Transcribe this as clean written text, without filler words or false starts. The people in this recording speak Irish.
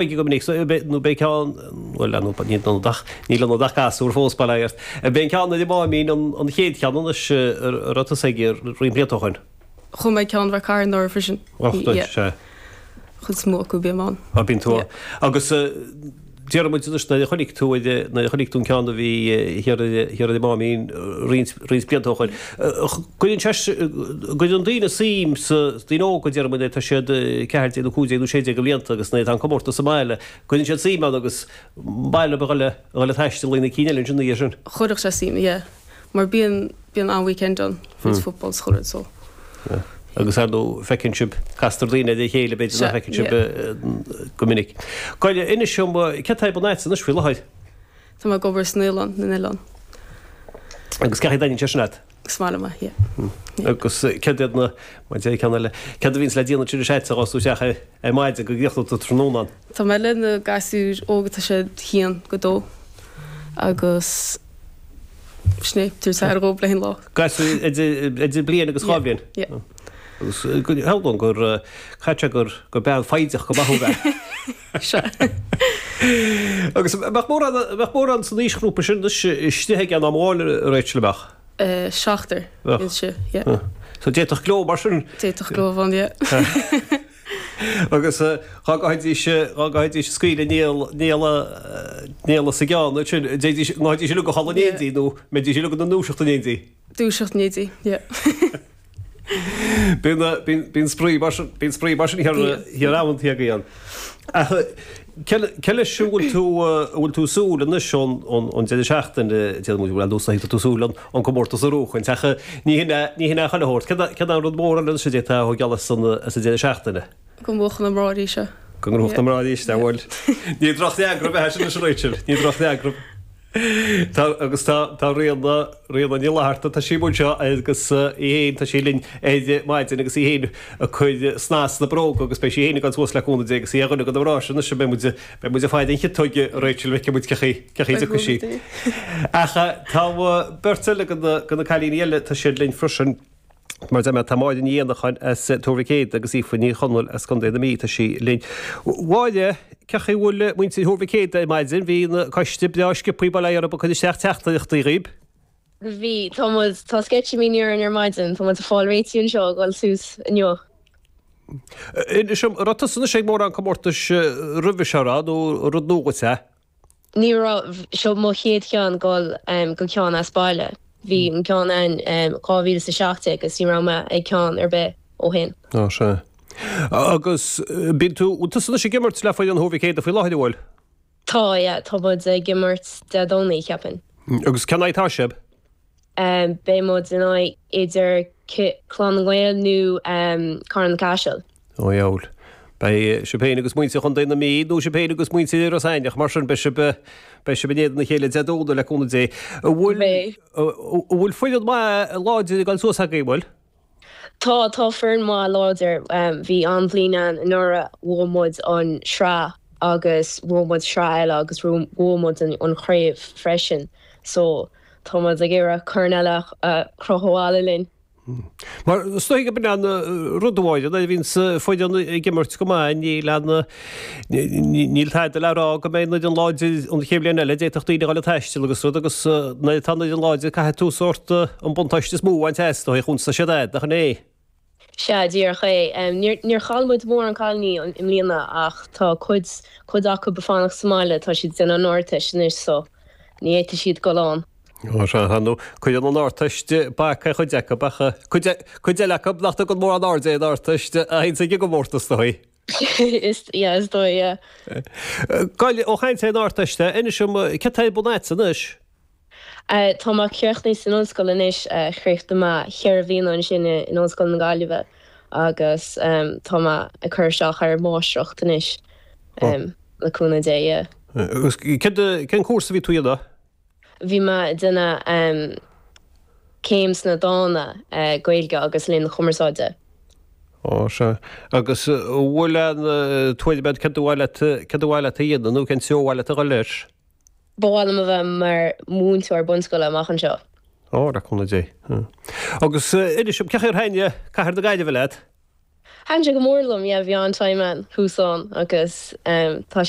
Go minic, nó beidh ceann, bhuel, níl ionad ach, níl ionad ach gasúr fós, bail ó Dhia ort. B'é an ceann ar an Máimín an chéad cheann anois a raibh tusa aige roinnt blianta ó shoin. Chuaigh mé ag ceann Rath Cairn anuraidh freisin. Och, duit, sea. Chuid is mó acu bím ann. Á, bíonn tú ann. Agus déarfaidh muid anois nuair a chonaic tú, nuair a chonaic tú an ceann a bhí thiar ar an Máimín roinnt, roinnt blianta ó shoin. Cuireann sé, cuireann daoine suim sa, daoine óga déarfaidh muid, tá siad 14 nó 15 nó 16 de bhlianta agus nuair atá an comórtas sa mbaile, cuireann siad suim ann agus ba mhaith leo a dhul a dhul ag taisteal ag na cinn eile ansin ina dhiaidh sin. Chuirfeadh sé suim, yeah. Mar bíonn, bíonn an-weekend ann, fríd football 's chuile rud so. Yeah. Agus ar ndóigh feiceann sibh, castar daoine ar a chéile b'fhéidir nach bhfeiceann sibh go minic. Gabh i leith, inis dom, céard atá ar bun a'dsa anois faoi láthair? Tá mé ag obair sa naíolann, na nOileán. Agus cén chaoi a dtaitníonn sé sin leat? Is maith liom é, yeah. Agus céard iad na, mar deir ceann eile, céard a bhíonns le déanamh ansin a'dsa a thosós tú isteach ar maidin go gcríochnóidh tú tráthnóna ann? Tá mé le na gasúir óga, tá siad haon go dó agus sin é, tabhairt aire dhóibh le haghaidh an lá. Gasúir idir bliain agus dhá bhliain? Yeah, yeah. Agus shamhlóinn gur, caithfidh sé gur, gur bean foighdeach go maith thú a bheith. Sea. Agus mbeadh mórán, mbeadh mórán san aoisghrúpa sin anois istigh ag an am amháin, a Rachel, an mbeadh? Seachtar, Bheadh. Sea, yeah. So d'fhéadfadh gleo mar sin. D'fhéadfadh gleo a bheith ann, yeah. Agus dhá gcaithfidís, dhá gcaithfidís scaoileadh néal, néala, néala sa gceann ansin, d'fhéadfaidís, ngabhfaidís uilig a chodladh in éindí nó mbeidís uilig ina ndúiseacht in éindí? Dúiseacht in éindí, yeah. Bíonn spraoi mar sin, bíonn spraoi mar sin thiar amanta againn. Ach cé leis a bhfuil tú, a bhfuil tú ag súil anois ón deireadh seachtaine, déarfaidh muid, bhuel, ar nós tá tú ag súil an comórtas a bhuachaint, ach ní hin é, ní hin é chuile shórt. Céard é an rud mór eile anois a d'fhéadfá a thógáil as an deireadh seachtaine? Go mbuafadh na mná arís é. Go ngnóthódh na mná arís é, bhuel, ní drochfhreagra é sin anois a Rachel, ní drochfhreagra. Tá, agus tá, tá Ríona, Ríona Ní Fhlatharta, tá sí amuigh anseo agus í féin, tá sí linn ar maidin agus í féin ag cur snas sna bróga agus beidh sí féin ag dul suas le cúnamh Dé agus í ar dhuine de na mná sin anois, beidh muid, beidh muid ag faire an chiotóige, Rachel, feicfidh muid cé chaoi, cé chaoi a dtiocfaidh sí. Ach tá beirt eile de na, de na cailíní eile, tá siad linn freisin. Mar a deir mé, tá Máire Ní Éanacháin as Tuar Mhic Éadaigh agus Aoife Ní Chonaill as Contae na Mí, tá sí linn. Mháire, cé chaoi a bhfuil muintir Thuar Mhic Éadaigh ar maidin? Bhí an coiste breá sciobthaí bail ó Dhia orthu ag cur isteach teachtaireachtaí dhaoib. Bhí, tá muid, tá sceitimíní orainn ar maidin, tá muid ag fáil réitithe anseo ag dul suas inniu. Inis dom, an raibh tusa anois ag mórán comórtais roimhe seo, raibh, nó rud nua dhuit é? Ní raibh, seo mo chéad cheann dul go ceann as baile. Bhí an ceann ann 2017 agus ní raibh mé ag ceann ar bith ó shin. Á sea. Agus bíonn tú, bhfuil tusa anois ag imirt le foireann Thuar Mhic Éadaigh faoi láthair, an bhfuil? Tá, yeah, tá muid ag imirt Dé Domhnaigh, cheapfainn. Agus cén aghaidh atá sibh? Beidh muid in aghaidh idir Clann na nGael nó Carna Caiseal. Ó dheabhail. Beidh sibh féin agus muintir Chontae na Mí, nó sibh féin agus muintir Iorras Aithneach, mar sin, beidh sibh, beidh sibh in éadan a chéile Dé Domhnaigh le cúnamh Dé. An bhfuil, an bhfuil foireann maith láidir ag dul suas agaibh, an bhfuil? Tá, tá foireann maith láidir. Bhí an-bhliain ann anuraidh, bhuaigh muid an sraith agus bhuaigh muid sraith eile agus bhuaigh muid an chraobh freisin. So, tá muid ag iarraidh corn eile a chrochadh abhaile linn. Mar is dóigh gurb in an rud amháin, nuair a bhíonns foireann ag imirt go maith, níl an, níl tada le rá go mbeidh an fhoireann láidir an chéad bhliain eile, d'fhéadfadh daoine a dhul ag taisteal agus rud agus nuair atá an fhoireann láidir caithfidh tú sórt an buntáiste is mó a bhaint as, dóigh a chuntas siad agat, nach in é? Sea, díreach é. Níor chaill muid mórán cailíní i mbliana ach tá cuid, cuid acu ag fanacht sa mbaile, tá siad ag déanamh an Ardteist anois so ní fhéadfaidh siad dul ann. Ó sea, ar ndóigh, cuireann an Ardteist bac ar chuid acu ach cuid, cuid eile acu nach dtugann mórán airde ar an Ardteist a théanns ag an gcomórtas dóigh. Is, yeah, is dóigh, yeah. Gabh i leith, ó chaint ar an Ardteist, inis dom, céard atá ar bun a'dsa anois? Tá mé críochnaithe san ollscoil anois, chríochnaigh mé cheithre bhliana ansin in Ollscoil na Gaillimhe agus tá mé ag cur isteach ar mháistreacht anois le cúnamh Dé, yeah. Agus cén cúrsa a bhí tú a dhéanamh? Bhí mé ag déanamh céim sna dána, Gaeilge agus Léann na Cumarsáide. Ó, sea. Agus an bhfuil aon tuairim agat céard ba mhaith leat, céard ba mhaith leat a dhéanamh nó cén treo ba mhaith leat a dhul leis? Ba mhaith liom a bheith mar mhúinteoir bunscoile amach anseo. Ó, le cúnamh Dé. Agus inis dom, cén chaoi ar thaitin cathair na Gaillimhe leat? Thaitin sé go mór liom, yeah, bhí an-time ann, thuas ann agus tá sé.